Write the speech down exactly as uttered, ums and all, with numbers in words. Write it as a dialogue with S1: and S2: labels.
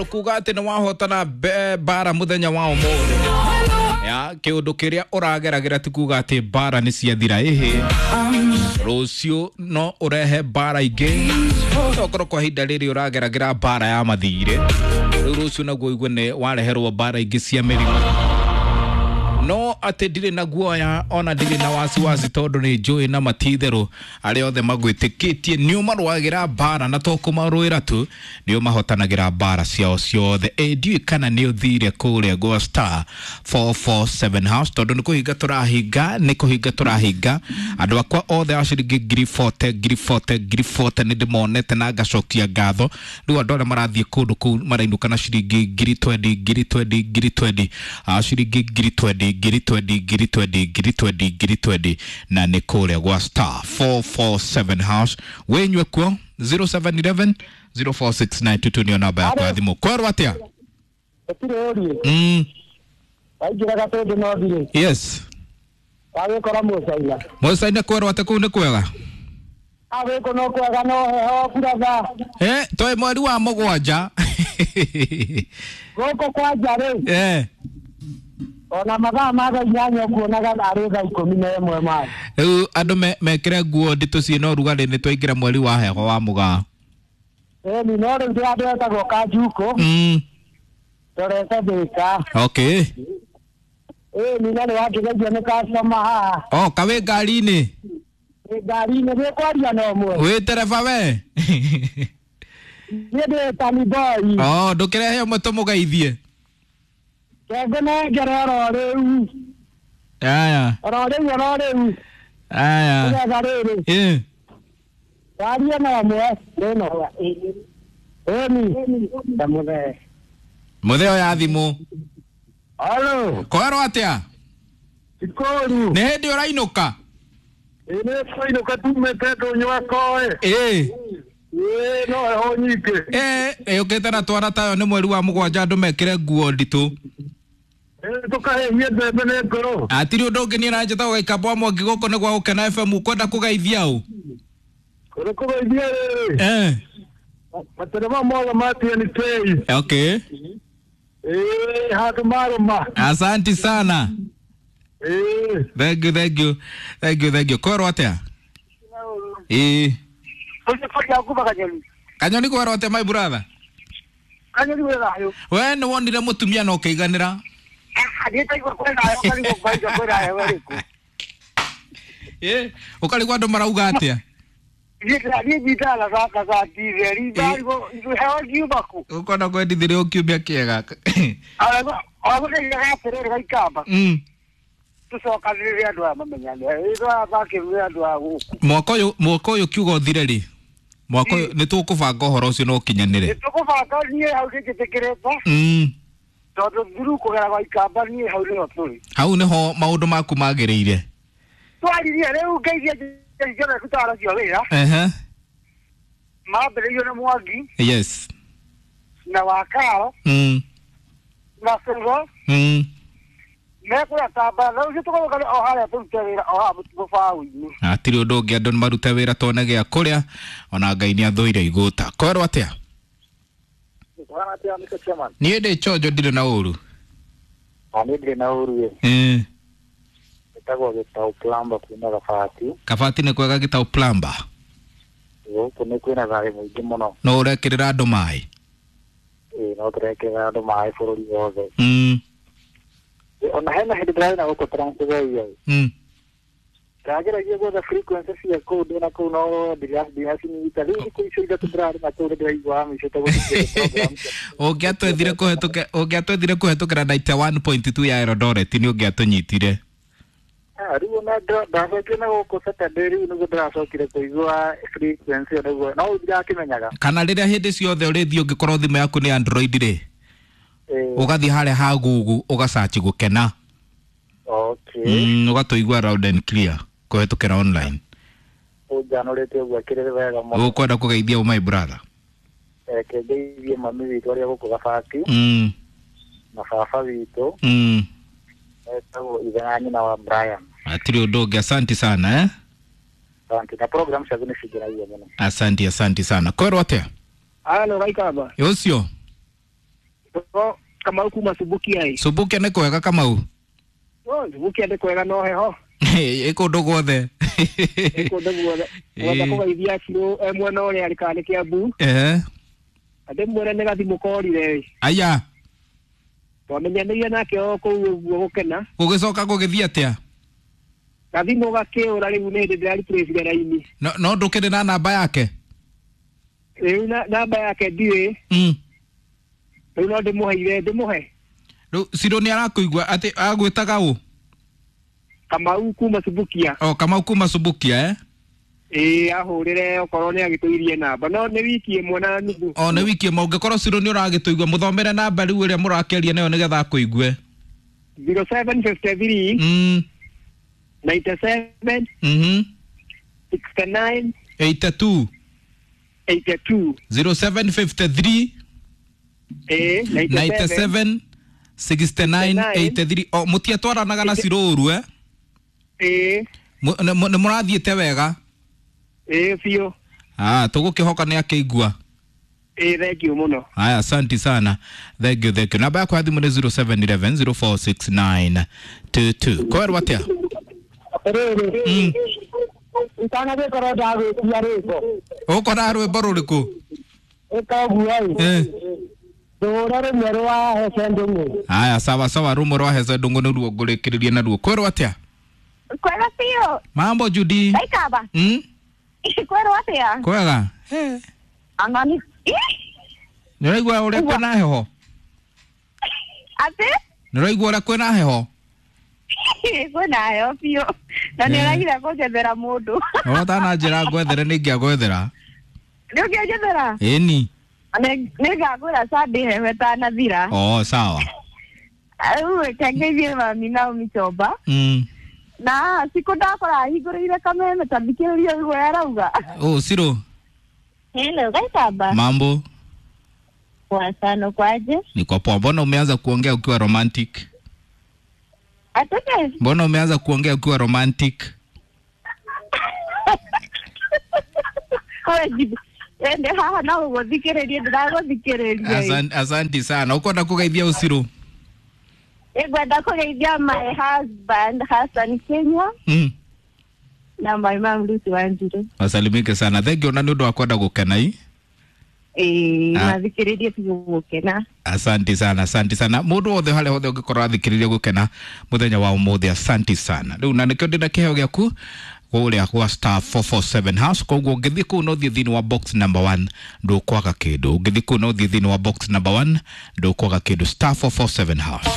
S1: Tondu kuga ati ni wahotana mbara muthenya wa umuthi ya kiundu kiria urageragira ti kuga ati mbara ni ciathira ihi rucio no urehe mbara ingi okorwo kwa ihinda riri urageragira mbara ya mathire riu rucio naguo igue ni wareherwo mbara ingi cia mirimu no ati ndirĩ na guoya ona ndirĩ na wasiwasi tondu nĩ njũĩ na matitherũ arĩa othe magwĩtĩkĩtie nĩ ũmarũagĩra mbara na to kũmarũĩra tu nĩ ũmahotanagĩra mbara ciao ciothe. Ĩ ndiũĩ kana nĩ ũthire kũrĩa gwa star four four seven house tondu nĩ kũhinga tũrahinga nĩ kũhinga tũrahinga andũ akwa othe a ciringi ngiri forty ngiri forty ngiri forty nĩ ndĩmonete na ngacokia ngatho. Rĩu andũ arĩa marathiĩ kũndũ kũu marainũka na ciringi ngiri twenty ngiri twenty ngiri twenty a ciringi ngiri twenty ngiri twenty ngiri twenty ngiri twenty ngiri twenty na nĩ kũrĩa gwa star four four seven house wĩnyue kuo zero seven eleven zero four six nine two two nĩyo namba yakwa ya thimũ. Kwerwo atĩa?
S2: Gũtirĩ ũriĩ.
S1: Mm.
S2: Waingĩra gatũndũ no thirĩ.
S1: Yes.
S2: Wagĩkora Mũcaina.
S1: Mũcaina kwerwo atĩa kũu nĩ kwega?
S2: Agĩkũ no kwega no heho buratha.
S1: Eh, twĩ mweri wa mũgwanja.
S2: Gũkũ kwanja rĩ.
S1: Eh.
S2: Ona mathaa ma thaa inyanya ũkuonaga arĩ thaa ikũmi na ĩmwe ma.
S1: Rĩu andũ mekĩre nguo nditũ ciĩna ũrugarĩ nĩ twaingĩra mweri wa heho wa mũgaa.
S2: Ĩni no rĩu ndĩ andũ etagwo Kanjukũ.
S1: Mm.
S2: Ndorete Thĩka.
S1: Okay.
S2: Ĩni na nĩ wakĩgeithio nĩ customer haha.
S1: Oh, kawĩ ngari-inĩ?
S2: Wĩ ngari-inĩ nĩ kwaria na ũmwe.
S1: Wĩ tereba we?
S2: Niĩ ndĩ Tani Boy.
S1: Oh, ndũkĩrehe ũmwe tũmũgeithie.
S2: Ngũnengere oro rĩu.
S1: Aya.
S2: Oro rĩu oro rĩu.
S1: Aya.
S2: Nĩgetha rĩrĩ.
S1: Ĩ.
S2: Warie na ũmwe rĩno. Ĩni. Ndamũthee.
S1: Mũthee oya thimũ.
S2: Halo.
S1: Kwerwo atĩa?
S2: Ikũru.
S1: Nĩ hĩndĩ ũrainũka?
S2: Ĩ nĩ twainũka tumĩte ndũnyũ akoe.
S1: Ĩ.
S2: Ĩ no heho nyingĩ.
S1: Ĩ ĩũkĩte na twana tayo nĩ mweri wa mũgwanja andũ mekĩre nguo nditũ.
S2: Tukahĩhie mbembe nĩ ngoro.
S1: Hatirĩ ũndũ ũngĩ niĩ na njĩtagwo Gaikamba wa Mwangi gũkũ nĩ gwa Gũkena F M ũkwenda kũgeithia ũ?
S2: Kũrĩ kũgeithia rĩrĩ.
S1: Eh.
S2: Matereba mothe ma T N K.
S1: Okay.
S2: Ĩ handũ marũma.
S1: Asanti sana.
S2: Ĩ.
S1: Thank you, thank you. Thank you, thank you. Kwerwo atĩa? Ĩ. Kanyoni kwerwo atĩa my brother?
S2: Kanyoni wĩ thayũ.
S1: We nĩ wonire mũtumia na ũkĩiganĩra? Ĩ, ũkarigwo andũ marauga atĩa? Ũkona kwendithirie ũkiumia kĩega. Mm.
S2: Tũcokanĩrĩre andũ aya mamenyane. Andũ a gũkũ.
S1: Mwaka ũyũ mwaka ũyũ kiugo ũthire rĩ? Mwaka ũyũ nĩ tũkũbanga ũhoro ũcio na ũkinyanĩre.
S2: Nĩ tũkũbanga niĩ hau nĩnjĩtĩkĩrĩte.
S1: Mm.
S2: Tondũ thuru kũgera gwa Ikamba niĩ hau nĩho tũrĩ.
S1: Hau nĩho maũndũ maku magĩrĩire.
S2: Twaririe rĩu ngeithie njore tũtara cio wĩra.
S1: Ehe.
S2: Mambĩrĩirio nĩ Mwangi.
S1: Yes.
S2: Na Wakao.
S1: Mm.
S2: Na Sũrũ.
S1: Mm.
S2: Mekũrĩa Kamba na rĩu tũgũka o harĩa tũrute wĩra o haha mũbaũ-inĩ.
S1: Hatirĩ ũndũ ũngĩ andũ marute wĩra tuone gĩa kũrĩa ona Ngai nĩ athũire igũta. Kwerwo atĩa? Niĩ ndĩ chonjo ndirĩ na ũru.
S2: Niĩ ndirĩ na ũru ĩ.
S1: Ĩ.
S2: Gĩtagwo Gĩtaũ Plumber kuma Gabati.
S1: Gabati nĩ kwega Gĩtaũ Plumber?
S2: Gũkũ nĩ kwĩna thayũ mũingĩ mũno.
S1: No ũrekĩrĩra andũ maĩ?
S2: Ĩ no tũrekĩrĩra andũ maĩ bũrũri wothe.
S1: Mm.
S2: Ona hena hĩndĩ ndĩrarĩ na gũkũ Trans Nzoia.
S1: Mm.
S2: Ndageragia gwetha frequency cia kũu ndĩ na kũu no ndiracinyita. Rĩu thikũ icio ithatũ ndĩrarĩ na kũu nĩndĩraigua mĩico gũthikĩrĩria program.
S1: Ũngĩatwethire kũhetũkĩra ũngĩatwethire kũhetũkĩra ninety one point two ya Eldoret nĩ ũngĩatũnyitire.
S2: Ah, rĩu ona ndacokire na gũkũ Saturday rĩu nĩguo ndĩracokire kũigua frequency ĩyo nĩguo no ndirakĩmenyaga.
S1: Kana rĩrĩa hĩndĩ ciothe ũrĩthiĩ ũngĩkorwo thimũ yaku nĩ Android rĩ, ũgathiĩ harĩa ha Google ũgasearch Gũkena.
S2: Okay.
S1: Mm, ũgatũigua loud and clear kũhetũkĩra online.
S2: Ũnjanũrĩte ũguo akĩrĩ wega mũno.
S1: Ũkwenda kũgeithia ũ my brother?
S2: Reke ngeithie mami witũ arĩa gũkũ Gabati.
S1: Mm.
S2: Na baba witũ.
S1: Mm.
S2: Etagwo ithe na nyina wa Brian.
S1: Hatirĩ ũndũ ũngĩ, asanti sana eh?
S2: Asante. Na program ciaku nĩ cingenagia mũno.
S1: Asante, asante sana. Kwerwo atĩa?
S2: Halo Gaikamba.
S1: Ũcio?
S2: No Kamau kuma Subukia ĩ.
S1: Subukia nĩ kwega Kamau?
S2: No Subukia nĩ kwega no heho.
S1: Ĩ kũndũ guothe.
S2: Ĩ kũndũ guothe. Ngwenda kũgeithia Cirũ e mwena ũrĩa arĩ kana nĩ Kĩambu.
S1: Ehe.
S2: Ndĩmwĩre nĩ gathimũ korire ĩ.
S1: Aya.
S2: Twamenyanĩire nake o kũu ũguo gũkena.
S1: Gũgĩcoka gũgĩthiĩ atĩa?
S2: Gathimũ gakĩũra rĩu nĩ hĩndĩ ndĩrariplacire raini.
S1: No no ndũkĩrĩ na namba yake?
S2: Rĩu namba yake ndiũĩ.
S1: Mm.
S2: Rĩu no ndĩmũheire ndĩmũhe.
S1: Rĩu Cirũ nĩ arakũigua atĩ agwĩtaga ũ?
S2: Kamau kuma Subukia.
S1: O Kamau kuma Subukia eh?
S2: Ĩĩ ahũrĩre okorwo nĩ agĩtũirie namba no nĩ wiki ĩmwe na nuthu.
S1: O nĩ wiki ĩmwe ũngĩkorwo Cirũ nĩ ũragĩtũigua mũthomere namba rĩu ĩrĩa mũrakĩaria nayo nĩgetha akũigue.
S2: zero seven fifty three
S1: Mm.
S2: ninety seven
S1: Mhm.
S2: sixty nine
S1: eighty two
S2: eighty two
S1: zero seven fifty three
S2: ĩĩ
S1: ninety seven sixty nine eighty three. O mũtiatwaranaga na Cirũ ũru eh?
S2: Ĩĩ.
S1: Nĩ mũrathiĩte wega?
S2: Ĩĩ biũ.
S1: Ah, tũgũkĩhoka nĩ akĩigua.
S2: Ĩĩ thank you mũno.
S1: Haya, asante sana. Thank you, thank you. Namba yakwa ya thimũ nĩ zero seven eleven zero four six nine two two. Kwerwo atĩa?
S3: Atĩrĩrĩ, itanagĩkorwo ndagwĩtia rwĩmbo.
S1: Ũkora rwĩmbo rũrĩkũ?
S3: Ĩka ũguo ĩ.
S1: Eh.
S3: Ndũre rũmwe rwa Hece Ndũng'ũ.
S1: Haya, sawa sawa, rũmwe rwa Hece Ndũng'ũ nĩruo ngũrĩkĩrĩria naruo. Kwerwo atĩa?
S4: Kwega biũ.
S1: Mambo Judy.
S4: Ndaikaba.
S1: Mm?
S4: Kwerwo atĩa?
S1: Kwega.
S4: Anga nĩ
S1: Nĩ ũraigua ũrĩa kwĩna heho?
S4: Atĩ?
S1: Nĩ ũraigua ũrĩa kwĩna heho?
S4: Kwĩna heho biũ. Na nĩ ũragire kũnjethera mũndũ.
S1: No ũtananjĩra ngwethere nĩ ingĩagwethera.
S4: Nĩ ũngĩanjethera?
S1: Ĩni.
S4: Nĩ ngagwĩra Sunday heho ĩtanathira.
S1: Oh, sawa.
S4: Rĩu reke ngeithie mami Naomi Chomba.
S1: Mm.
S4: Na sikũ ndakora ahingũrĩire kameme ta thikĩrĩria ũguo arauga.
S1: Oh, Cirũ.
S4: Hello, Gaitaba.
S1: Mambo.
S4: Poa sana, kwaje?
S1: Niko poa. Mbona umeanza kuongea ukiwa romantic?
S4: Atete?
S1: Mbona umeanza kuongea ukiwa romantic?
S4: Wewe ende haha na ũgũthikĩrĩria ndĩragũthikĩrĩria.
S1: Asante, asante sana. Ukwenda kũgeithia ũcirũ?
S4: Ngwenda kũgeithia my husband Hassan Kenya.
S1: Mm.
S4: Na my mom Lucy Wanjiru.
S1: Wasalimike sana. Thank you na nĩ ũndũ wa kwenda gũkena i.
S4: Ĩĩ, mathikĩrĩrie biũ gũkena.
S1: Asante sana, asante sana. Mũndũ wothe harĩa hothe ũngĩkorwo athikĩrĩria gũkena mũthenya wa ũmũthĩ, asante sana. Rĩu na nĩkĩo ndĩna kĩheo gĩaku kũrĩa gwa star four four seven hash. Koguo ũngĩthiĩ kũu no ũthiĩ thĩinĩ wa box number one ndũkwaga kĩndũ. Ũngĩthiĩ kũu no ũthiĩ thĩinĩ wa box number one ndũkwaga kĩndũ. Star four four seven hash.